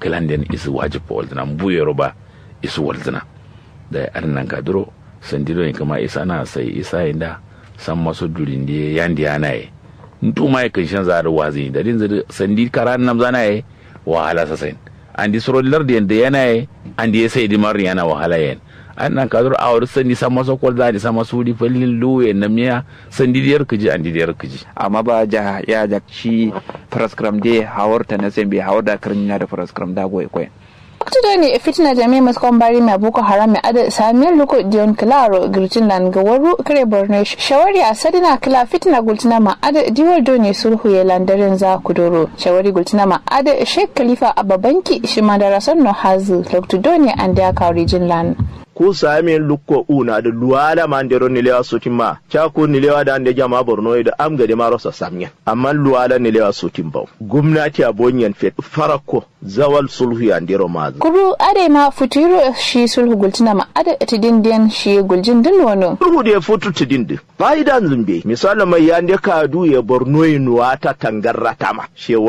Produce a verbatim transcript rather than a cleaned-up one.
kǝlanden isu wajib walzǝna mbu yero ba isu walzǝna. Dai adǝ nankadǝro sandi done kǝma isana sai isa yenda samma so dulinde yandi yanaye. Nduma ye kǝnshanza adǝ wazǝ yinda dinzǝ dǝ sandi kara namzanaye. Wahala sasain andi suro lardiyen dǝ yanaye. Andi ye sai dǝ marri yana wahala yen. Adǝ nankadǝro awo dǝ sandi samma so kolza andi samma sudi fallin luwu yen namniya. Sandi dǝ yar kǝji andi dǝ yar kǝji. Amma ba ja ya jak shi faraskram de hawar ta na sembe hawar da kǝrnya da faraskram da goye koyen. Waktu done fitina jami'a muskon bari mai boko haram mai adǝ samiyan luko diyon kǝlaro girjin lan gawaru kare borno shawari a sadina kǝla fitina gultina ma adǝ diwal done sulhu ye lan daren za kudoro shawari gultina ma adǝ shek khalifa abba banki shima darason no hazu loktu done ande a kawrijin lan. Ku samiyan lukko una dǝ luwala ma ndero nilewa sutin ma. Caku nilewa da ande jama borno ye dǝ am gade maro sa samiyan amma luwala nilewa sutin bau. Gumnati a bonyen fet farakko zawal sulhu ya ndero mazu. Kuru adai ma futu yiro shi sulhu gultina ma adǝ tidin diyan shi guljin dǝ nono. Sulhu de futu tidin dǝ fa'idan zǝmbe misalo mai yande kadu ye borno ye nuwata tangarrata ma. Shewa